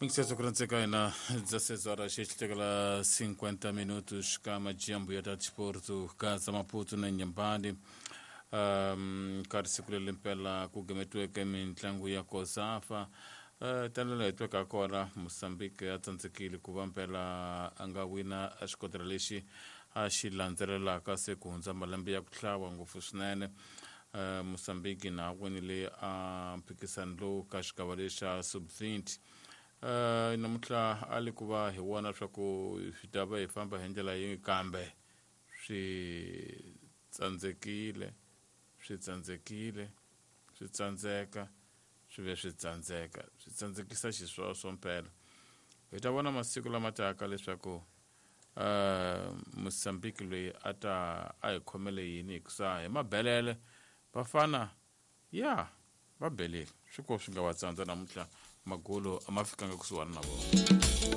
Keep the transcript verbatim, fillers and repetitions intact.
Mingiseso kurantseka hina dezesseis horas xitekela cinquenta minutos ka majambu ya ta disporto ka Maputo na Inhambane. Um, ka siku leri mpela ku gametiweke mitlangu ya COSAFA. Uh, tanihi hi tweka kona Mozambique ya tsandzekile ku va mpela a nga wina xikotela lexi a xi landzelelaka se ku hundza malembe ya ku hlawa ngopfu swinene. Uh, Mozambique na winile a mphikisano lowu ka xigava lexa sub twenty. Uh, namuntlha a li ku va hi vona swa ku swi ta va hi famba hi ndlela yihi, kambe swi tsandzekile swi tsandzekile swi tsandzeka swi ve swi tsandzeka swi tsandzekisa xisweswo mpela. Hi ta vona masiku lama taka leswaku uh, Mozambique loyi a ta a hi khomele yini, hikusa hi mabelele vafana ya va belile swi ko swi nga va tsandza namuntlha magolo a ma fikanga kusuhani na vona.